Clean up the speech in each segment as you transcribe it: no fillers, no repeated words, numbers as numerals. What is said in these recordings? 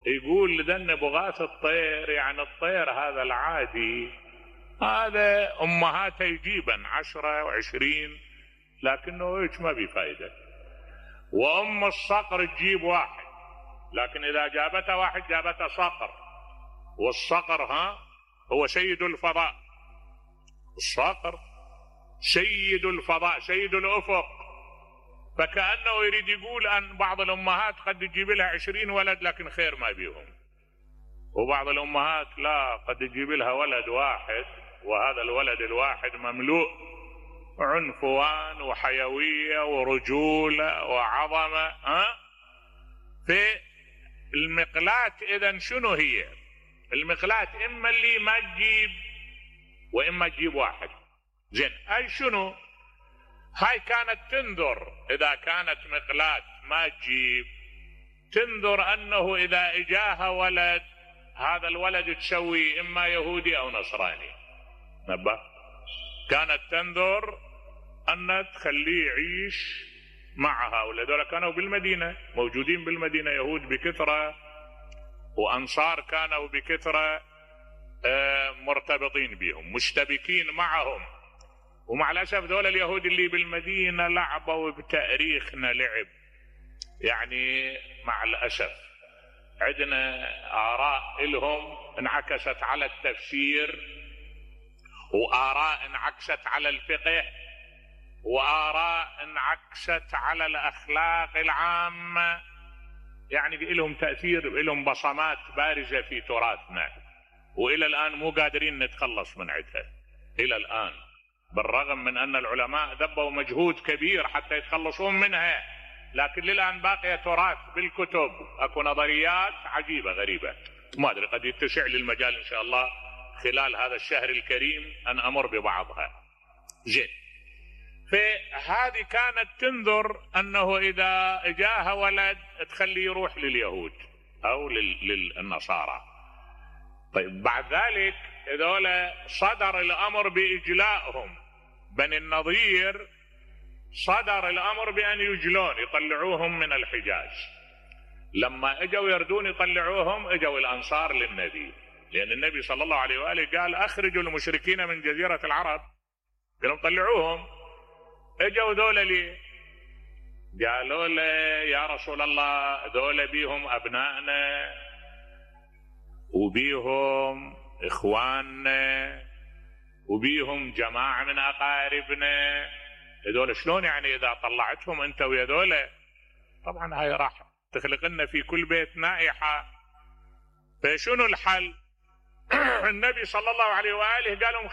يقول لذن بغاث الطير، يعني الطير هذا العادي هذا امهاته يجيبن 10 و20، لكنه هيك ما بفايدة. وام الصقر تجيب واحد، لكن اذا جابته واحد جابته صقر، والصقر هو سيد الفضاء، الصقر سيد الفضاء سيد الافق. فكأنه يريد يقول ان بعض الامهات قد تجيب لها 20 ولد لكن خير ما بيهم، وبعض الامهات لا، قد تجيب لها ولد واحد، وهذا الولد الواحد مملوء عنفوان وحيوية ورجولة وعظمة. في المقلاة اذا شنو هي المقلاة؟ اما اللي ما تجيب واما تجيب واحد. زين، اي شنو هاي؟ كانت تنذر اذا كانت مقلاة ما تجيب، تنذر انه اذا اجاها ولد هذا الولد تسوي اما يهودي او نصراني. نبه، كانت تنذر ان تخليه يعيش معها. ولذلك كانوا بالمدينة موجودين بالمدينة يهود بكثرة، وانصار كانوا بكثرة مرتبطين بهم مشتبكين معهم. ومع الاسف دول اليهود اللي بالمدينة لعبوا بتاريخنا لعب، يعني مع الاسف عندنا آراء لهم انعكست على التفسير، وآراء انعكست على الفقه، وآراء انعكست على الأخلاق العامة. يعني لهم تأثير، لهم بصمات بارزة في تراثنا، وإلى الآن مو قادرين نتخلص من عدها إلى الآن، بالرغم من أن العلماء ذبوا مجهود كبير حتى يتخلصون منها، لكن للآن باقية تراث بالكتب. أكو نظريات عجيبة غريبة، ما أدري قد يتسع لي المجال إن شاء الله خلال هذا الشهر الكريم أن أمر ببعضها. زين، فهذه كانت تنذر أنه إذا جاءها ولد تخليه يروح لليهود أو للنصارى. طيب بعد ذلك هذول صدر الأمر بإجلائهم، بني النضير صدر الأمر بأن يجلون، يطلعوهم من الحجاز. لما اجوا يردون يطلعوهم اجوا الأنصار للنبي، لأن النبي صلى الله عليه وآله قال أخرجوا المشركين من جزيرة العرب، قالوا طلعوهم. اجوا ذولا لي قالوا له يا رسول الله ذولا بيهم أبنائنا وبيهم إخواننا وبيهم جماعة من أقاربنا، هذول شلون يعني إذا طلعتهم أنت ويا ذولا؟ طبعا هاي راح تخلق لنا في كل بيت نائحة. فشنو الحل؟ النبي صلى الله عليه وآله قال لهم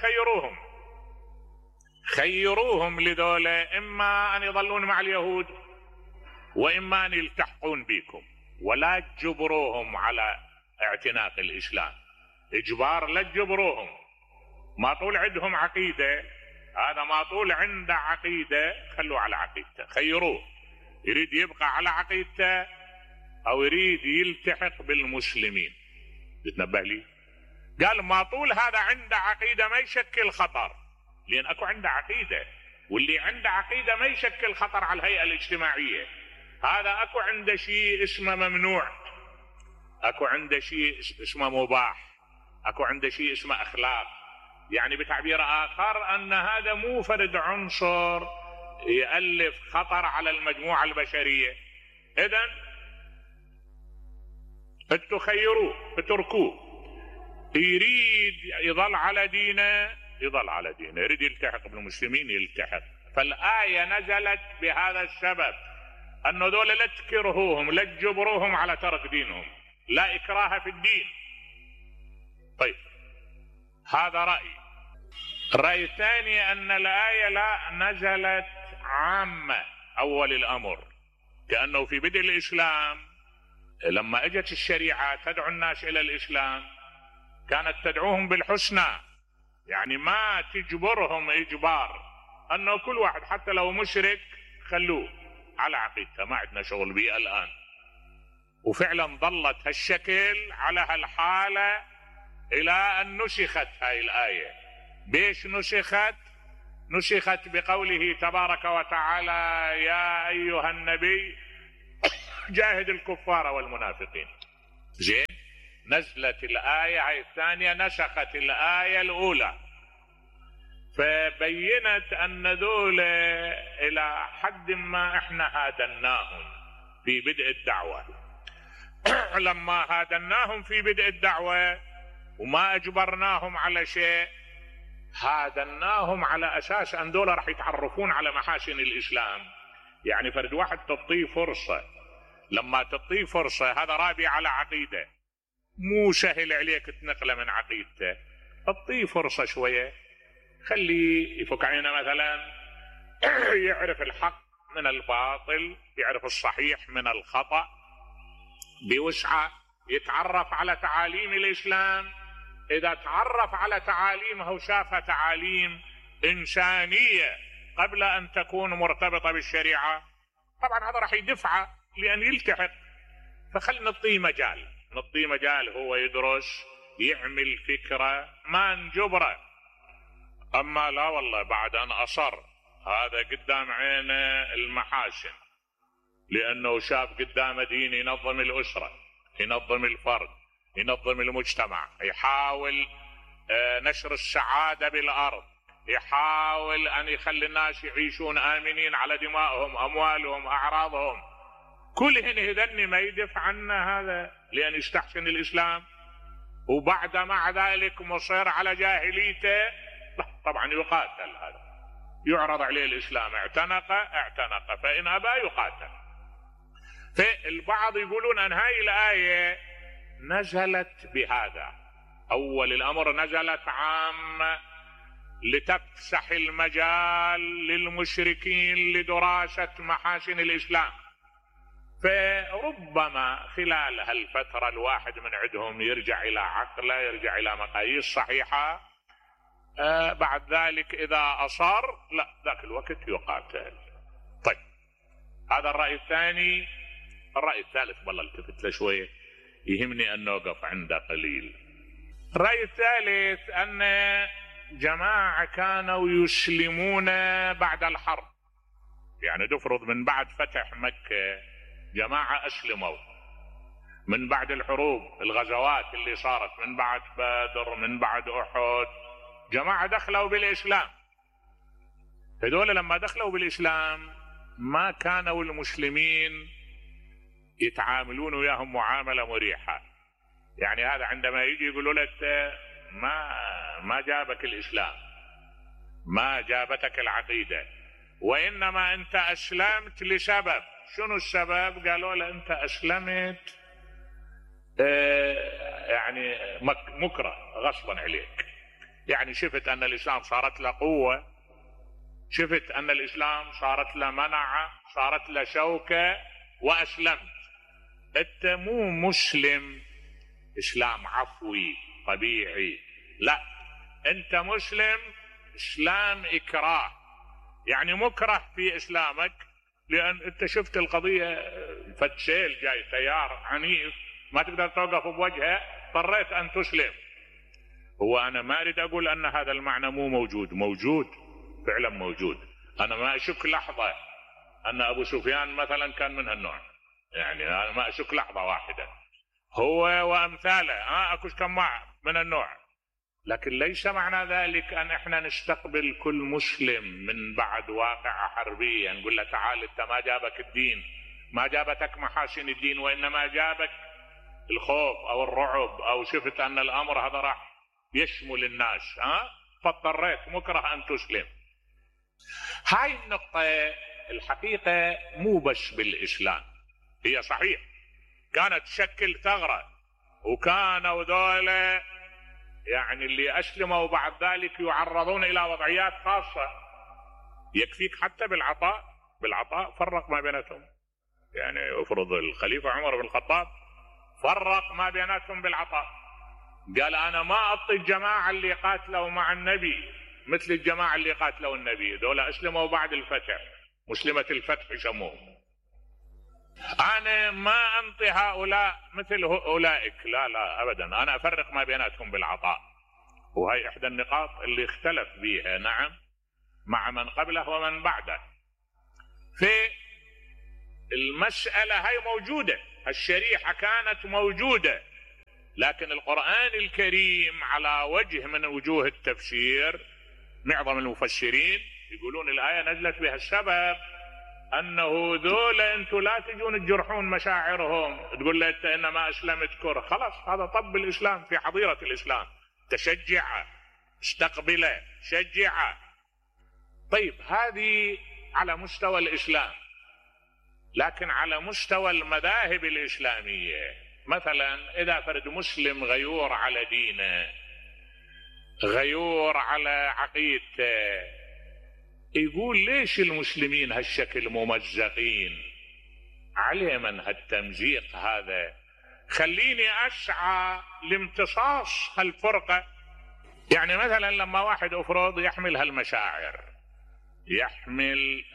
خيروهم لذولا، إما أن يظلون مع اليهود وإما أن يلتحقون بكم، ولا تجبروهم على اعتناق الإسلام. إجبار لا تجبروهم، ما طول عندهم عقيدة، هذا ما طول عنده عقيدة خلوه على عقيدته، خيروه، يريد يبقى على عقيدته أو يريد يلتحق بالمسلمين. بتنبه لي؟ قال ما طول هذا عنده عقيدة ما يشكل خطر، لأن أكو عنده عقيدة، واللي عنده عقيدة ما يشكل خطر على الهيئة الاجتماعية. هذا أكو عنده شيء اسمه ممنوع، أكو عنده شيء اسمه مباح، أكو عنده شيء اسمه أخلاق. يعني بتعبير آخر أن هذا مو فرد عنصر يألف خطر على المجموعة البشرية. إذن تخيروه اتركوه، يريد يظل على دينه يظل على دينه، يريد يلتحق بالمسلمين يلتحق. فالآية نزلت بهذا السبب، أنه ذولا لا تكرهوهم لا تجبروهم على ترك دينهم، لا إكراه في الدين. طيب هذا رأي. الرأي الثاني أن الآية لا نزلت عامة أول الأمر، كأنه في بدء الإسلام لما اجت الشريعة تدعو الناس إلى الإسلام كانت تدعوهم بالحسنى، يعني ما تجبرهم إجبار، أنه كل واحد حتى لو مشرك خلوه على عقيدته، ما عندنا شغل به الآن. وفعلا ظلت هالشكل على هالحالة إلى أن نسخت هاي الآية. بيش نسخت؟ نسخت بقوله تبارك وتعالى يا أيها النبي جاهد الكفار والمنافقين. زين. نزلت الآية هاي الثانية نسخت الآية الأولى، فبينت أن ذول إلى حد ما إحنا هادناهم في بدء الدعوة. لما هادناهم في بدء الدعوة وما أجبرناهم على شيء، هادناهم على أساس أن دول راح يتعرفون على محاسن الإسلام. يعني فرد واحد تعطيه فرصة، لما تعطيه فرصة هذا رابي على عقيدة، مو سهل عليك تنقله من عقيدته، اعطيه فرصة شوية، خليه يفك عينه مثلا، يعرف الحق من الباطل، يعرف الصحيح من الخطأ بوسعة، يتعرف على تعاليم الإسلام. إذا تعرف على تعاليمه وشاف تعاليم إنسانية قبل أن تكون مرتبطة بالشريعة، طبعا هذا راح يدفعه لأن يلتحق. فخل نعطيه مجال، نعطيه مجال هو يدرس، يعمل فكرة، ما نجبره. أما لا والله بعد أن أصر هذا قدام عينه المحاسن، لأنه شاف قدامه دين ينظم الأسرة، ينظم الفرد، ينظم المجتمع، يحاول نشر السعادة بالأرض، يحاول أن يخلي الناس يعيشون آمنين على دمائهم، أموالهم، أعراضهم. كلهن هذن ما يدفع عنا هذا لأن يستحسن الإسلام، وبعد مع ذلك مصير على جاهليته. طبعا يقاتل، هذا يعرض عليه الإسلام، اعتنق، فإن أبى يقاتل. فالبعض يقولون أن هاي الآية نزلت بهذا، أول الأمر نزلت عامة لتفسح المجال للمشركين لدراسة محاسن الإسلام. فربما خلال هالفترة الواحد من عندهم يرجع إلى عقله، يرجع إلى مقاييس صحيحة، بعد ذلك إذا أصر لا ذاك الوقت يقاتل. طيب هذا الرأي الثاني. الرأي الثالث والله التفت له شوية، يهمني أن نوقف عنده قليل. الرأي الثالث أن جماعة كانوا يسلمون بعد الحرب، يعني تفرض من بعد فتح مكة جماعة أسلموا، من بعد الحروب الغزوات اللي صارت، من بعد بدر، من بعد أحد، جماعة دخلوا بالإسلام. هذول لما دخلوا بالإسلام ما كانوا المسلمين يتعاملون وياهم معاملة مريحة. يعني هذا عندما يجي يقولوا لك ما جابك الإسلام، ما جابتك العقيدة، وإنما أنت أسلمت لسبب. شنو السبب؟ قالوا له أنت أسلمت يعني مكره غصبا عليك، يعني شفت أن الإسلام صارت له قوة، شفت أن الإسلام صارت له منعة، صارت له شوكة، وأسلمت. أنت مو مسلم إسلام عفوي طبيعي، لا، أنت مسلم إسلام إكراه، يعني مكره في إسلامك، لأن أنت شفت القضية فتسيل جاي تيار عنيف ما تقدر توقف بوجهه، اضطريت أن تسلم. هو أنا ما أريد أقول أن هذا المعنى مو موجود، موجود فعلا موجود. أنا ما أشك لحظة أن أبو سفيان مثلا كان من هالنوع، يعني أنا ما أشك لحظة واحدة، هو وأمثاله أكو كم من النوع. لكن ليس معنى ذلك أن إحنا نستقبل كل مسلم من بعد واقعة حربية نقول له تعال أنت ما جابك الدين، ما جابتك محاسن الدين، وإنما جابك الخوف أو الرعب، أو شفت أن الأمر هذا راح يشمل الناس فاضطريت مكره أن تسلم. هاي النقطة الحقيقة مو بس بالإسلام، هي صحيح كانت تشكل ثغرة، وكانوا ذولا يعني اللي أسلموا بعد ذلك يعرضون إلى وضعيات خاصة. يكفيك حتى بالعطاء فرق ما بيناتهم، يعني افرض الخليفة عمر بن الخطاب فرق ما بيناتهم بالعطاء، قال أنا ما أعطي الجماعة اللي قاتلوا مع النبي مثل الجماعة اللي قاتلوا النبي، دول أسلموا بعد الفتح، مسلمة الفتح يسموهم، أنا ما أنطي هؤلاء مثل أولئك، لا أبدا، أنا أفرق ما بيناتهم بالعطاء. وهي إحدى النقاط اللي اختلف بها نعم مع من قبله ومن بعده. في المسألة هاي موجودة، الشريعة كانت موجودة، لكن القرآن الكريم على وجه من وجوه التفسير معظم المفسرين يقولون الآية نزلت بها السبب أنه ذول أنتم لا تجون تجرحون مشاعرهم، تقول له أنت إنما أسلمت كره، خلاص هذا طب الإسلام في حظيرة الإسلام، تشجعه استقبله شجعه. طيب هذه على مستوى الإسلام، لكن على مستوى المذاهب الإسلامية مثلا إذا فرد مسلم غيور على دينه غيور على عقيدته يقول ليش المسلمين هالشكل ممزقين، عليه من هالتمزيق هذا، خليني أسعى لامتصاص هالفرقة. يعني مثلا لما واحد أفرض يحمل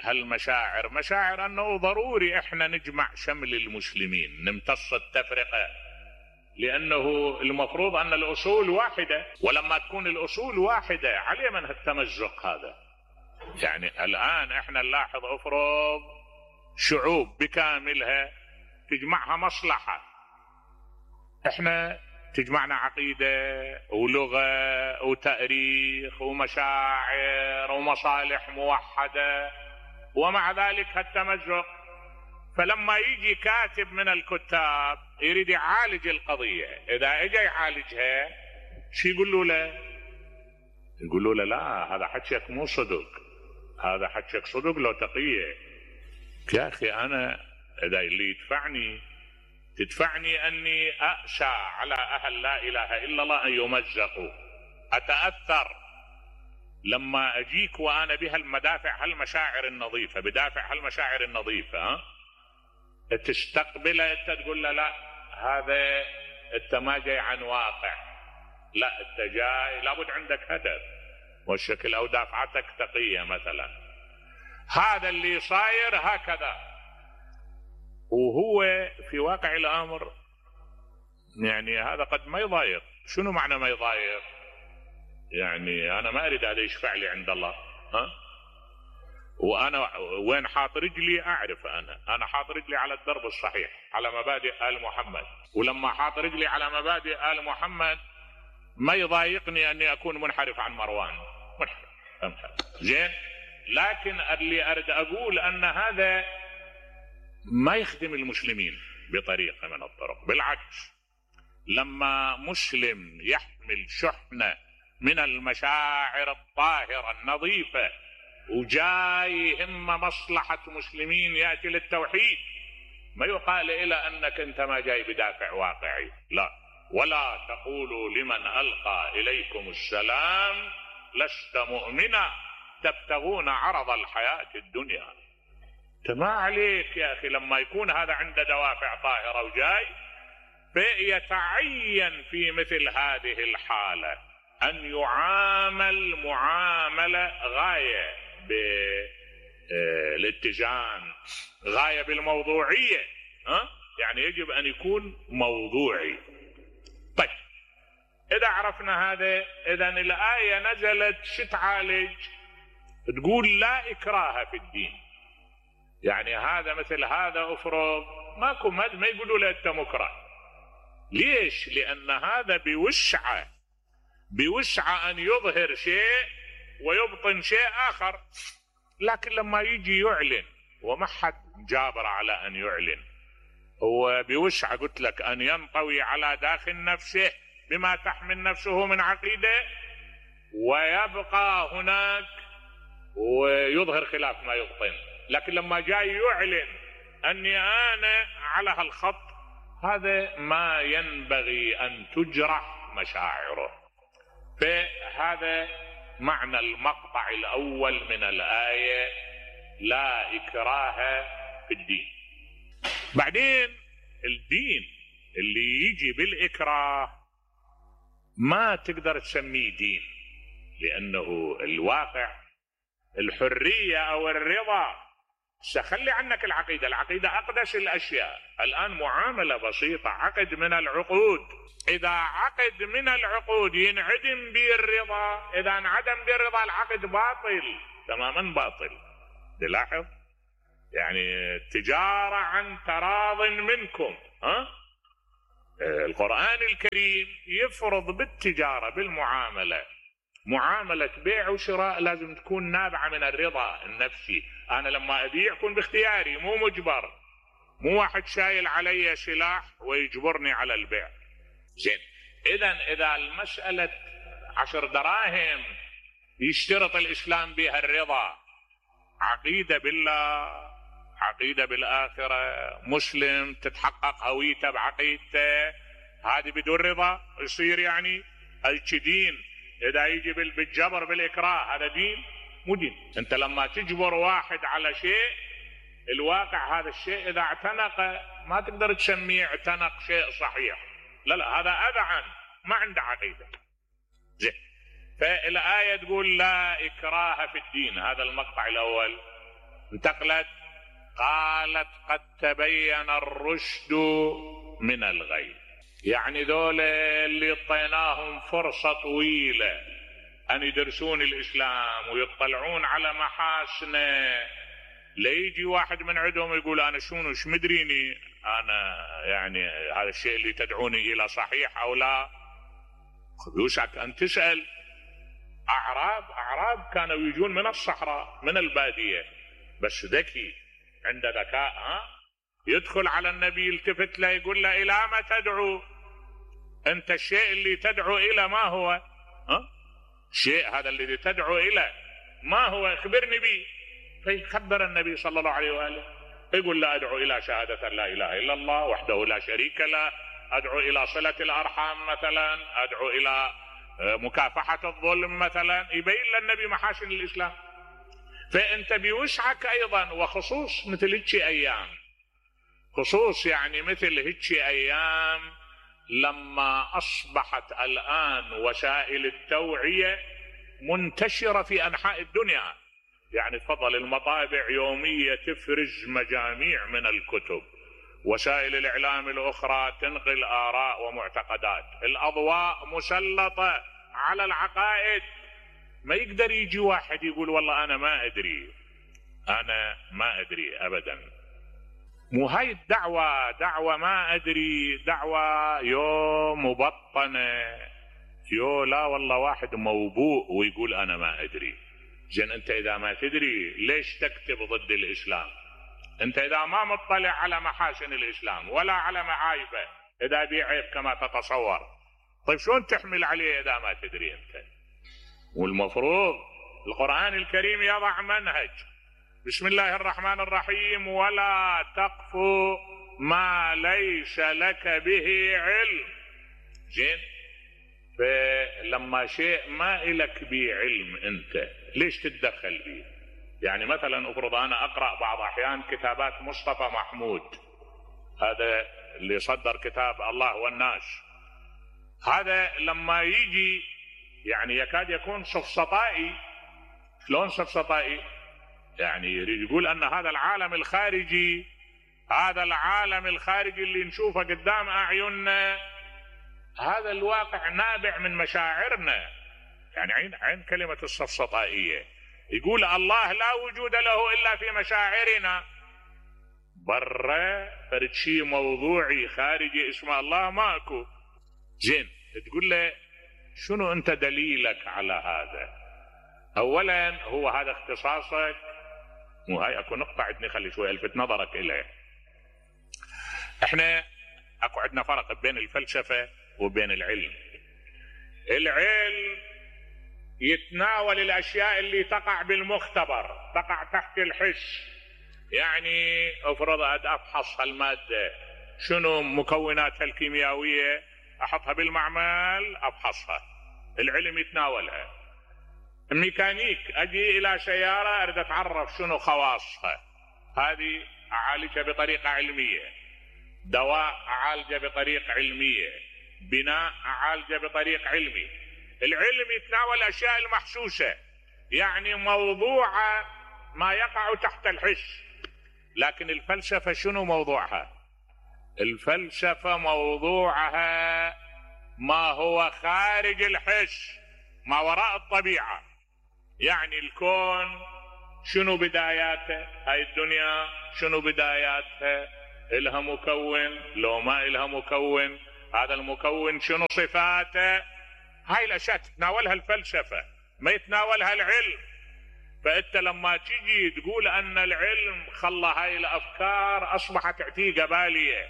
هالمشاعر مشاعر أنه ضروري إحنا نجمع شمل المسلمين نمتص التفرقة، لأنه المفروض أن الأصول واحدة، ولما تكون الأصول واحدة عليه من هالتمزق هذا. يعني الآن إحنا نلاحظ أفرض شعوب بكاملها تجمعها مصلحة، إحنا تجمعنا عقيدة ولغة وتاريخ ومشاعر ومصالح موحدة، ومع ذلك هالتمزق. فلما يجي كاتب من الكتاب يريد يعالج القضية، إذا اجى يعالجها شو يقولوا له؟ يقولوا له لا هذا حكيك مو صدق، هذا حكيك صدق لو تقية. يا أخي أنا إذا اللي تدفعني أني أأسى على أهل لا إله إلا الله أن يمزقوا، أتأثر لما أجيك وأنا بها المدافع هالمشاعر النظيفة، بدافع هالمشاعر النظيفة، تستقبله أنت تقول له لا هذا أنت ما جاي عن واقع، لا أنت جاي لابد عندك هدف والشكل أو دافعتك تقية مثلا. هذا اللي صاير هكذا، وهو في واقع الأمر يعني هذا قد ما يضايق. شنو معنى ما يضايق؟ يعني أنا ما أريد هذا يشفع لي عند الله، وأنا وين حاط رجلي أعرف، أنا حاط رجلي على الدرب الصحيح على مبادئ آل محمد، ولما حاط رجلي على مبادئ آل محمد ما يضايقني أني أكون منحرف عن مروان، منحرف زين. لكن اللي أريد أقول أن هذا ما يخدم المسلمين بطريقة من الطرق، بالعكس لما مسلم يحمل شحنة من المشاعر الطاهرة النظيفة وجاي هم مصلحة مسلمين يأتي للتوحيد، ما يقال إلى أنك أنت ما جاي بدافع واقعي، لا. ولا تقولوا لمن ألقى إليكم السلام لست مؤمنا تبتغون عرض الحياة الدنيا. ما عليك يا أخي لما يكون هذا عنده دوافع طاهرة وجاي، فيتعين في مثل هذه الحالة أن يعامل معاملة غاية بالاتزان، غاية بالموضوعية، يعني يجب أن يكون موضوعي. طيب إذا عرفنا هذا، إذن الآية نزلت شتعالج؟ تقول لا إكراه في الدين. يعني هذا مثل هذا أفرض ما يقولوا له أنت مكره. ليش؟ لأن هذا بوسعة أن يظهر شيء ويبطن شيء آخر، لكن لما يجي يعلن وما حد جابر على أن يعلن، هو بوسعة قلت لك أن ينطوي على داخل نفسه بما تحمل نفسه من عقيدة، ويبقى هناك ويظهر خلاف ما يبطن. لكن لما جاي يعلن أني أنا على هالخط، هذا ما ينبغي أن تجرح مشاعره. فهذا معنى المقطع الأول من الآية، لا إكراه في الدين. بعدين الدين اللي يجي بالإكراه ما تقدر تسميه دين، لأنه الواقع الحرية أو الرضا. سخلي عنك العقيدة أقدس الأشياء. الآن معاملة بسيطة، عقد من العقود، إذا عقد من العقود ينعدم به الرضا، إذا انعدم به الرضا العقد باطل تماما باطل. تلاحظ يعني تجارة عن تراض منكم، القرآن الكريم يفرض بالتجارة بالمعاملة، معاملة بيع وشراء لازم تكون نابعة من الرضا النفسي. أنا لما أبيع أكون باختياري مو مجبر، مو واحد شايل علي سلاح ويجبرني على البيع. زين، إذا المسألة 10 دراهم يشترط الإسلام بها الرضا، عقيدة بالله، عقيدة بالآخرة، مسلم تتحقق هويته بعقيدته، هذه بدون رضا يصير يعني هيك دين. إذا يجي بالجبر بالإكراه هذا دين؟ مو دين. أنت لما تجبر واحد على شيء، الواقع هذا الشيء إذا اعتنق ما تقدر تسميه اعتنق شيء صحيح، لا هذا أذعن، ما عنده عقيدة. زين، فالآية تقول لا إكراه في الدين. هذا المقطع الأول. انتقلت قالت قد تبين الرشد من الغي، يعني ذول اللي اعطيناهم فرصة طويلة أن يدرسون الإسلام ويطلعون على محاسنه، ليجي واحد من عندهم يقول أنا شنو مدريني أنا يعني هذا الشيء اللي تدعوني إلى صحيح أو لا. يوشك أن تسأل أعراب كانوا يجون من الصحراء من البادية، بس ذكي عنده ذكاء، يدخل على النبي يلتفت له يقول له إلى ما تدعو أنت؟ الشيء اللي تدعو إلى ما هو؟ شيء هذا الذي تدعو إلى ما هو؟ اخبرني به. فيخبر النبي صلى الله عليه وآله، يقول لا أدعو إلى شهادة لا إله إلا الله وحده لا شريك له، أدعو إلى صلة الأرحام مثلا، أدعو إلى مكافحة الظلم مثلا، يبين للنبي محاسن الإسلام. فأنت بوسعك أيضا، وخصوص مثل هيك أيام، خصوص يعني مثل هيك أيام لما أصبحت الآن وسائل التوعية منتشرة في أنحاء الدنيا. يعني تفضل المطابع يومية تفرز مجاميع من الكتب، وسائل الإعلام الأخرى تنقل آراء ومعتقدات، الأضواء مسلطة على العقائد. ما يقدر يجي واحد يقول والله أنا ما أدري، أنا ما أدري أبدا. مو هاي دعوة ما أدري، دعوة مبطنة، لا والله واحد موبوء ويقول أنا ما أدري. زين، أنت إذا ما تدري ليش تكتب ضد الإسلام؟ أنت إذا ما مطلع على محاسن الإسلام ولا على معايبه، إذا بيه عيب كما تتصور، طيب شلون تحمل عليه إذا ما تدري أنت؟ والمفروض القرآن الكريم يضع منهج. بسم الله الرحمن الرحيم، ولا تقف ما ليس لك به علم. زين، فلما شيء ما إلك به علم أنت ليش تتدخل به؟ يعني مثلا افرض أنا أقرأ بعض أحيان كتابات مصطفى محمود، هذا اللي صدر كتاب الله والناس، هذا لما يجي يعني يكاد يكون سفسطائي. شلون سفسطائي؟ يعني يريد يقول أن هذا العالم الخارجي، هذا العالم الخارجي اللي نشوفه قدام أعيننا، هذا الواقع نابع من مشاعرنا. يعني عين كلمة السفسطائية، يقول الله لا وجود له إلا في مشاعرنا. برا فرد شيء موضوعي خارجي اسمه الله ماكو. زين، تقول له شنو أنت دليلك على هذا؟ أولا هو هذا اختصاصك، وهاي اكو نقطة عندي خلي شوي الفت نظرك إليه. احنا اكو عندنا فرق بين الفلسفة وبين العلم. العلم يتناول الأشياء اللي تقع بالمختبر، تقع تحت الحس. يعني افرض افحص المادة شنو مكوناتها الكيميائية، احطها بالمعمل افحصها، العلم يتناولها. الميكانيك اجي الى سيارة اريد اتعرف شنو خواصها، هذه اعالجها بطريقة علمية. دواء اعالجه بطريقة علمية، بناء اعالجه بطريق علمي. العلم يتناول الاشياء المحسوسة، يعني موضوع ما يقع تحت الحس. لكن الفلسفة شنو موضوعها؟ الفلسفة موضوعها ما هو خارج الحس، ما وراء الطبيعة. يعني الكون شنو بداياته، هاي الدنيا شنو بداياتها، إلها مكون لو ما إلها مكون، هذا المكون شنو صفاته. هاي الاشياء تتناولها الفلسفة ما يتناولها العلم. فانت لما تجي تقول ان العلم خلى هاي الافكار اصبحت عتيقة بالية،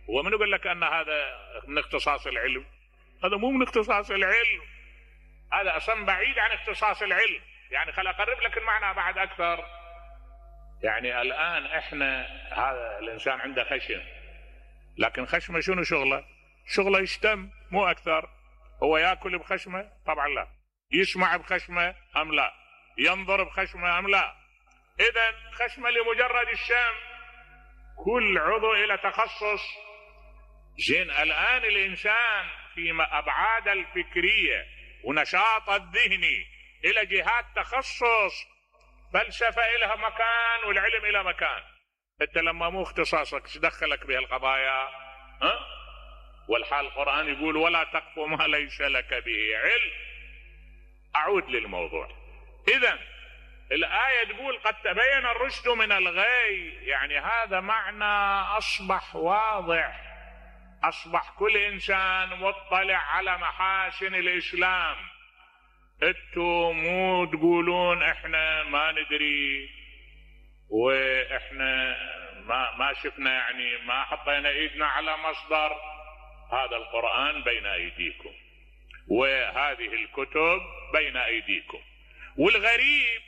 ومن يقول لك ان هذا من اختصاص العلم؟ هذا مو من اختصاص العلم، هذا اصلا بعيد عن اختصاص العلم. يعني خل اقرب لك المعنى بعد اكثر. يعني الان احنا هذا الانسان عنده خشم، لكن خشمه شنو شغله؟ شغله يشتم مو اكثر. هو ياكل بخشمه؟ طبعا لا. يسمع بخشمه ام لا؟ ينظر بخشمه ام لا؟ اذا خشمه لمجرد الشم. كل عضو الى تخصص. زين الان الانسان في ابعاد الفكريه ونشاط الذهني الى جهات تخصص. فلسفه الها مكان والعلم الى مكان. انت لما مو اختصاصك ايش دخلك بهالقضايا؟ والحال القرآن يقول ولا تقف ما ليس لك به علم. اعود للموضوع. اذا الآية تقول قد تبين الرشد من الغي، يعني هذا معنى اصبح واضح. اصبح كل انسان مطلع على محاسن الاسلام. انتوا مو تقولون احنا ما ندري واحنا ما شفنا، يعني ما حطينا ايدنا على مصدر. هذا القرآن بين ايديكم وهذه الكتب بين ايديكم. والغريب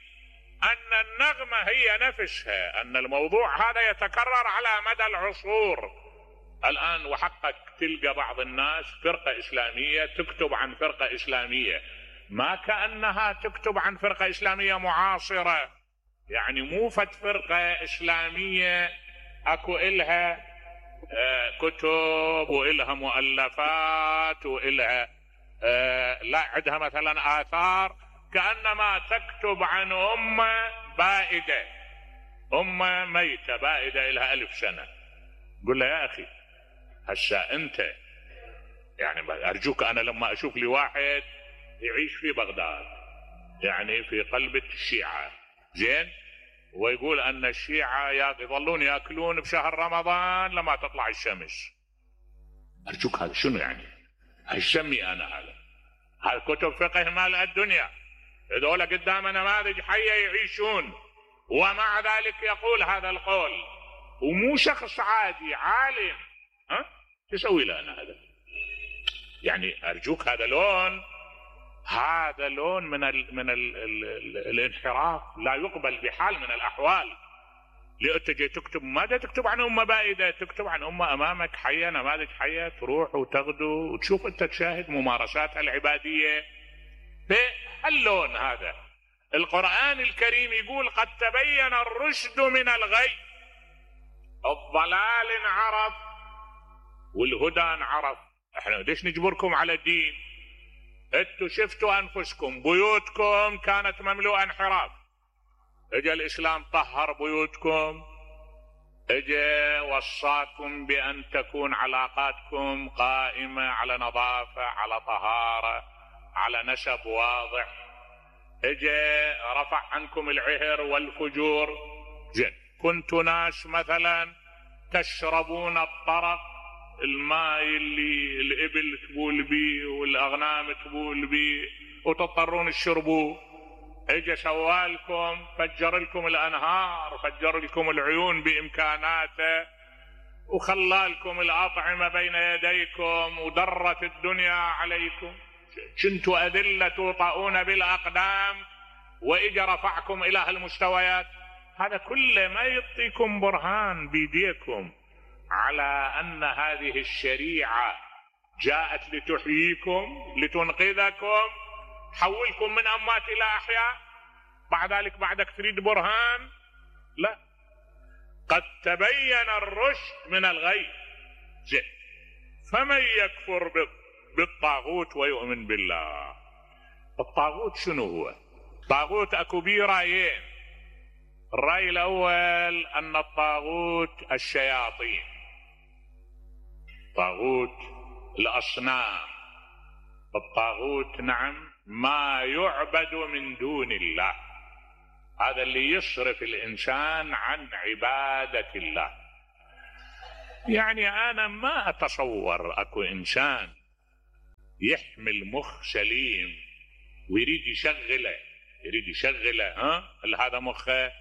ان النغمة هي نفسها، ان الموضوع هذا يتكرر على مدى العصور. الان وحقك تلقى بعض الناس فرقة اسلامية تكتب عن فرقة اسلامية، ما كأنها تكتب عن فرقة اسلامية معاصرة. يعني مو فد فرقة اسلامية اكو الها كتب وإلها مؤلفات وإلها لا عندها مثلا آثار، كأنما تكتب عن أمة بائدة، أمة ميتة بائدة إلها 1000 سنة. قل له يا أخي هسا أنت يعني أرجوك، أنا لما أشوف لي واحد يعيش في بغداد يعني في قلب الشيعة زين، ويقول ان الشيعة يظلون ياكلون بشهر رمضان لما تطلع الشمس، ارجوك هذا شنو يعني؟ هشمي انا هذا كتب فقه مال الدنيا، هذول قدام نماذج حية يعيشون، ومع ذلك يقول هذا القول ومو شخص عادي عالم. تسوي له انا هذا؟ يعني ارجوك هذا لون من الانحراف لا يقبل بحال من الاحوال. لأنت جاي تكتب ماذا؟ تكتب عن امه بائده، تكتب عن امه امامك حيه، نماذج حيه تروح وتغدو وتشوف انت تشاهد ممارساتها العباديه. فاللون هذا القرآن الكريم يقول قد تبين الرشد من الغي. الضلال انعرف والهدى انعرف. احنا ليش نجبركم على الدين؟ انتوا شفتوا انفسكم بيوتكم كانت مملوءة انحراف، اجا الاسلام طهر بيوتكم، اجا وصاكم بان تكون علاقاتكم قائمة على نظافة، على طهارة، على نسب واضح، اجا رفع عنكم العهر والفجور. زين كنتوا ناس مثلا تشربون الطرق، الماء اللي الإبل تبول بيه والأغنام تبول بيه وتضطرون تشربوه، اجا سوالكم فجر لكم الأنهار، فجر لكم العيون بإمكاناته، وخلالكم الأطعمة بين يديكم، ودرت الدنيا عليكم، كنتوا أذلة توطئون بالأقدام، وإجا رفعكم إلى هالمستويات. هذا كله ما يعطيكم برهان بيديكم على أن هذه الشريعة جاءت لتحييكم لتنقذكم، حولكم من أموات إلى أحياء؟ بعد ذلك بعدك تريد برهان؟ لا. قد تبين الرشد من الغي. فمن يكفر بالطاغوت ويؤمن بالله. الطاغوت شنو هو؟ الطاغوت اكو بيه رايين. الرأي الأول أن الطاغوت الشياطين، طاغوت الأصنام، الطاغوت نعم ما يعبد من دون الله، هذا اللي يصرف الإنسان عن عبادة الله. يعني انا ما اتصور اكو انسان يحمل مخ سليم ويريد يشغله هذا مخه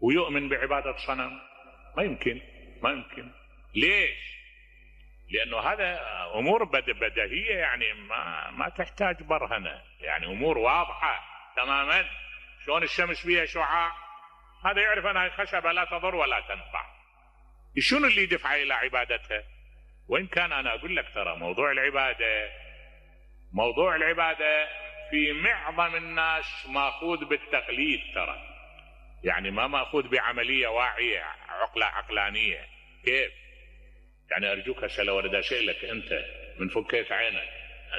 ويؤمن بعبادة صنم. ما يمكن. ليش؟ لانه هذا امور بديهية، يعني ما تحتاج برهنة، يعني امور واضحة تماما. شلون الشمس فيها شعاع، هذا يعرف انها خشبة لا تضر ولا تنفع. شنو اللي يدفع الى عبادتها؟ وان كان انا اقول لك ترى موضوع العبادة في معظم الناس ماخوذ بالتقليد، ترى يعني ما ماخوذ بعملية واعية عقلانية. كيف؟ يعني ارجوك هسه لو اريد اسالك انت من فكيت عينك،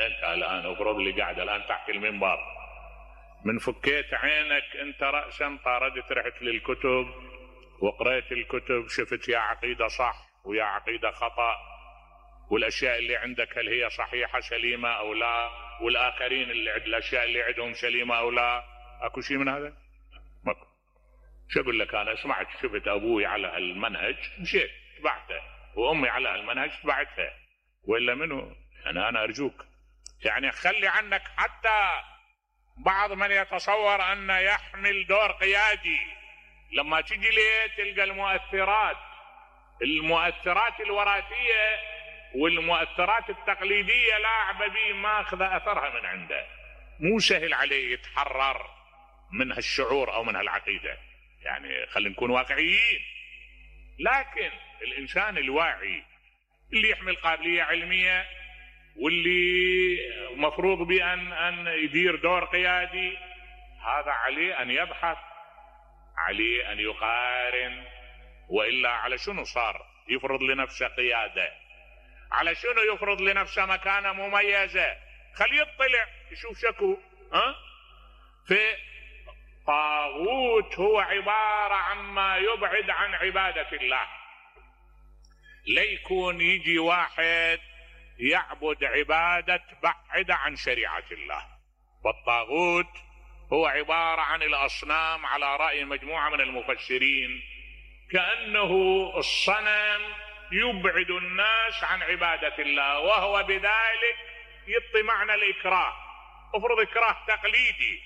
انت الان افرض لي قاعد الان تحت المنبر، من فكيت عينك انت رأسا طاردت رحت للكتب وقرأت الكتب، شفت يا عقيدة صح ويا عقيدة خطأ، والاشياء اللي عندك هل هي صحيحة سليمة او لا، والاخرين اللي الاشياء اللي عندهم سليمة او لا. اكو شيء من هذا؟ ماكو. شو اقول لك، انا سمعت شفت ابوي على المنهج مشيت تبعته، وامي على المنهج تبعتها، ولا منو؟ انا ارجوك يعني خلي عنك حتى بعض من يتصور ان يحمل دور قيادي. لما تجي ليه تلقى المؤثرات الوراثية والمؤثرات التقليدية لاعبة به، ما اخذ اثرها من عنده. مو سهل عليه يتحرر من هالشعور او من هالعقيدة، يعني خلينا نكون واقعيين. لكن الانسان الواعي اللي يحمل قابلية علمية واللي مفروض بأن يدير دور قيادي، هذا عليه أن يبحث، عليه أن يقارن. وإلا على شنو صار يفرض لنفسه قيادة؟ على شنو يفرض لنفسه مكانة مميزة؟ خليه يطلع يشوف شكو. في طاغوت هو عبارة عما يبعد عن عبادة الله. ليكون يجي واحد يعبد عبادة بعيدة عن شريعة الله. والطاغوت هو عبارة عن الأصنام على رأي مجموعة من المفسرين، كأنه الصنم يبعد الناس عن عبادة الله، وهو بذلك يعطي معنى الإكراه. افرض إكراه تقليدي،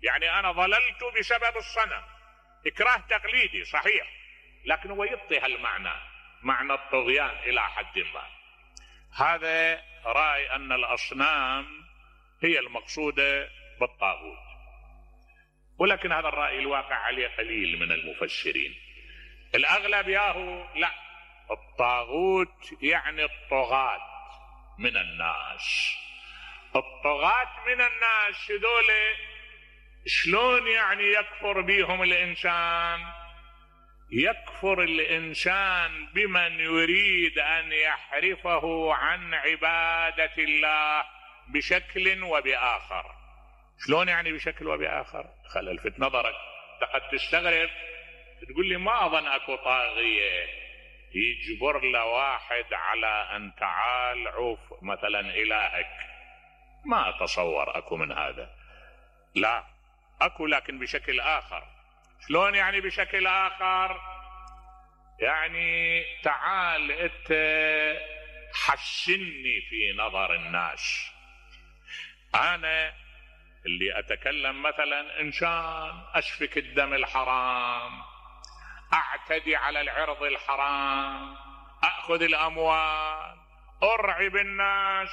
يعني أنا ضللت بسبب الصنم، إكراه تقليدي صحيح، لكن هو يعطي هالمعنى، معنى الطغيان إلى حد ما. هذا رأي أن الأصنام هي المقصودة بالطاغوت، ولكن هذا الرأي الواقع عليه قليل من المفسرين. الأغلب ياهو لا، الطاغوت يعني الطغاة من الناس. الطغاة من الناس هذول شلون يعني يكفر بهم الإنسان؟ يكفر الإنسان بمن يريد أن يحرفه عن عبادة الله بشكل وبآخر. شلون يعني بشكل وبآخر؟ خل الفت نظرك، قد تستغرب تقول لي ما أظن أكو طاغية يجبر له واحد على أن تعال عوف مثلا إلهك. ما أتصور أكو من هذا. لا أكو، لكن بشكل آخر. شلون يعني بشكل آخر؟ يعني تعال أنت حسني في نظر الناس. أنا اللي أتكلم مثلا إنسان أسفك الدم الحرام، أعتدي على العرض الحرام، أخذ الأموال، أرعب الناس.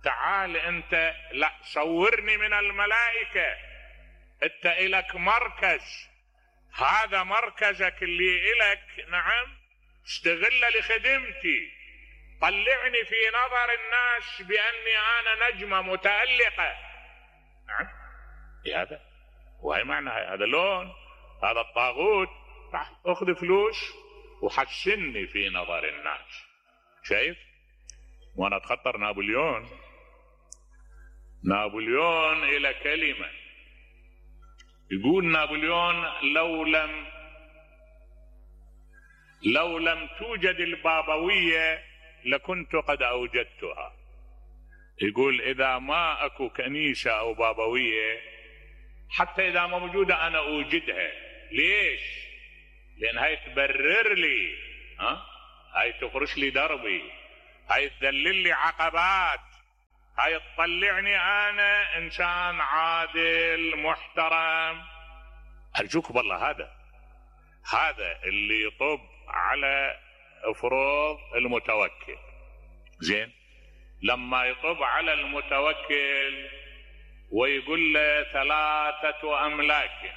تعال أنت لا صورني من الملائكة، أنت إلك مركز، هذا مركزك اللي إلك، نعم استغل لخدمتي، طلعني في نظر الناس بأني أنا نجمة متألقة. نعم هذا وهي معنى هذا لون هذا الطاغوت. أخذ فلوس وحسني في نظر الناس. شايف؟ وأنا أتخطر نابليون إلى كلمة، يقول نابليون لو لم توجد البابوية لكنت قد أوجدتها. يقول إذا ما أكو كنيسة أو بابوية، حتى إذا ما موجودة أنا أوجدها. ليش؟ لأن هاي تبرر لي هاي تفرش لي دربي، هاي تذلل لي عقبات، هاي تطلعني انا انسان عادل محترم. ارجوك بالله هذا اللي يطب على فروض المتوكل. زين، لما يطب على المتوكل ويقول له 3 أملاك،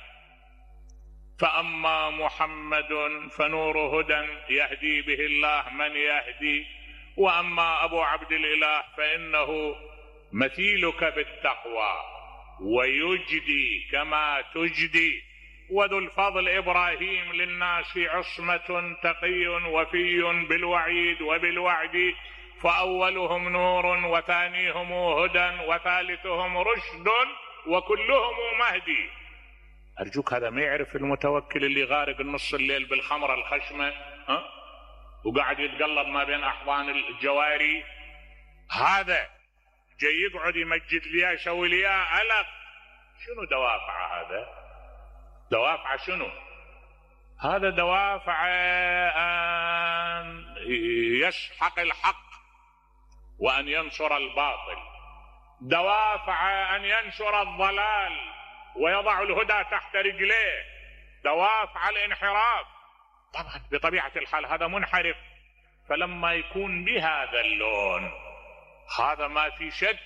فأما محمد فنور هدى يهدي به الله من يهدي، وأما أبو عبد الإله فإنه مثيلك بالتقوى ويجدي كما تجدي، وذو الفضل إبراهيم للناس عصمة تقي وفي بالوعيد وبالوعد، فأولهم نور وثانيهم هدى وثالثهم رشد وكلهم مهدي. أرجوك هذا ما يعرف المتوكل اللي غارق النص الليل بالخمرة الخشمة وقاعد يتقلب ما بين أحضان الجواري، هذا جاي يقعد يمجد لي يسوي لي ألق. شنو دوافع هذا؟ دوافع شنو؟ هذا دوافع أن يسحق الحق وأن ينصر الباطل، دوافع أن ينشر الضلال ويضع الهدى تحت رجليه، دوافع الانحراف. طبعا بطبيعة الحال هذا منحرف، فلما يكون بهذا اللون هذا ما في شك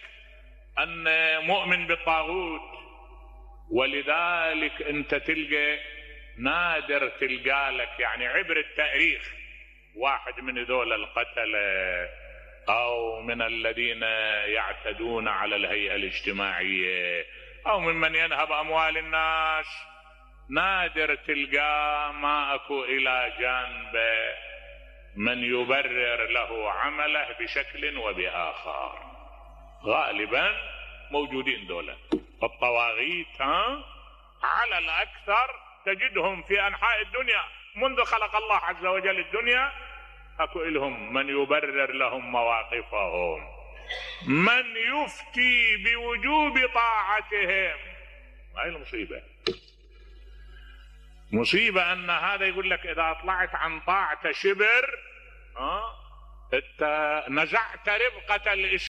أن مؤمن بالطاغوت. ولذلك أنت تلقى نادر تلقى لك يعني عبر التاريخ واحد من ذول القتلة أو من الذين يعتدون على الهيئة الاجتماعية أو ممن ينهب أموال الناس، نادر تلقى ما أكو إلى جانبه من يبرر له عمله بشكل وبآخر. غالبا موجودين دولة الطواغيت على الأكثر تجدهم في أنحاء الدنيا منذ خلق الله عز وجل الدنيا، أكو إلهم من يبرر لهم مواقفهم، من يفتي بوجوب طاعتهم. هاي المصيبة، مصيبة أن هذا يقول لك إذا طلعت عن طاعة شبر انت نزعت ربقة الإسلام.